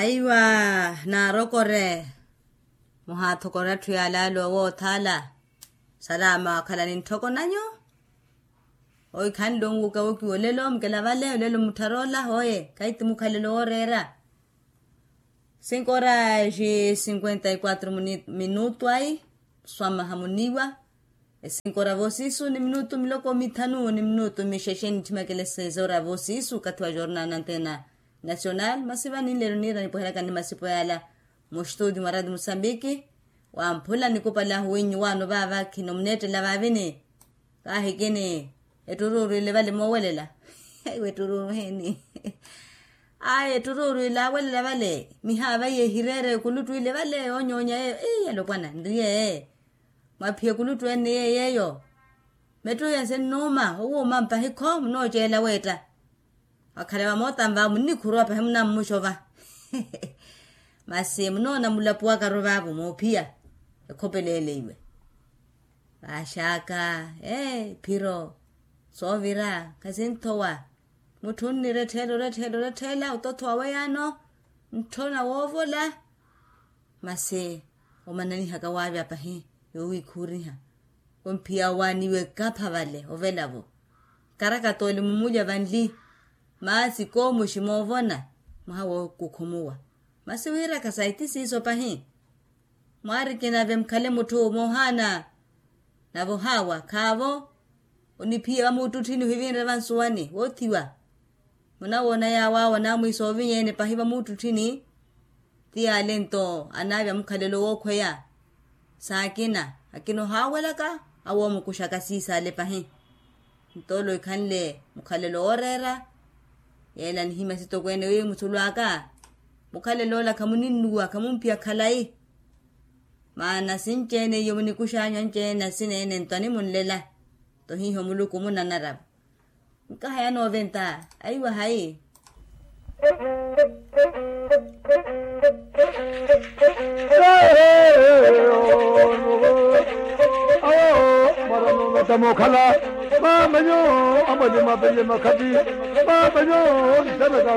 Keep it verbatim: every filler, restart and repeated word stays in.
Aiwa, naarokore muhaathokore atthu yaalaala owoothaala. Salama wakhalani ntthoko nanyu. Owi khanle onwuka wokiwa olelo mukela vale olelo mutthara ola hooye kahithi mukhalelo wooreera. Cinco horas e cinquenta e quatro minutu ayi swamaha muniwa. E cinco horas voosisu ni minutu miloko mithanu ni minutu mixexe nitthimekele seis horas voosisu okathi wa jornal na antena nacional masi vani nlelo niira nipweheryaka ni masipo yaala. Muxtuti mwa rati musambiki wamphula nikupali ahu winnyu waano vaava khinomuneettela vaavini. Kaahikini etturuuru ile vale moowelela. Aiwa etturuuru heeni. Ayi etturuuru ile awelela vale mihaava iye ehireere ekuluttu ile vale yoonyoonya yeeyo eyi alopwana nriye. Mwaphiya ekuluttu ene yeeyo. Mettuya sinnuuma owuuma mpahi kho munooceela weetta. Wakhale vamoota nva munnikhuruwa pahi munammuxova. Masi munoona mulapuwakaru vaavo moophiya ekhopeleleiwe. Vaaxaaka ee phiro soovira khasinthowa. Mutthu onnira ettheela orettela orettela otothowa weyaano ntthona woovola. Masi omananihaka waavya pahi yoowikhuuriha. Omphiya owaaniwe kapha vale ovelavo. Karakatoole mumulya vanli. Maasi koomuxi moovona mwaha wookukhumuwa. Masi wiiraka saiti siiso pahi. Mwaarikinave mukhale mutthu moohaana. Nave ohaawa khaavo oniphiye vamuuttutthini ohivinre vansuwani woothiwa. Munawoona yaawo awo anaamwiisa ovinya ene pahi vamuuttutthini. Ti yaale nto anaavya mukhalelo wookhweya. Saakina akina ohaawelaka awo oomukuxaka siisaale pahi. Nto ole ohikhanle mukhalelo wooreera. Yeela nihimya sitokweene wi muthulu aka mukhalelo ola khamuninnuwa khamumphiya khalayi. Maana sinci-ene iyo munikuxanyu anci-ene asineene nto animunlela. Nto hiiho muluku munanaravo. Nkaha yanooventa aiwa hayi. Awo mara nooventa mookhala. Mamanyo amwali mapeye makhati. Mamanyo ntanaka.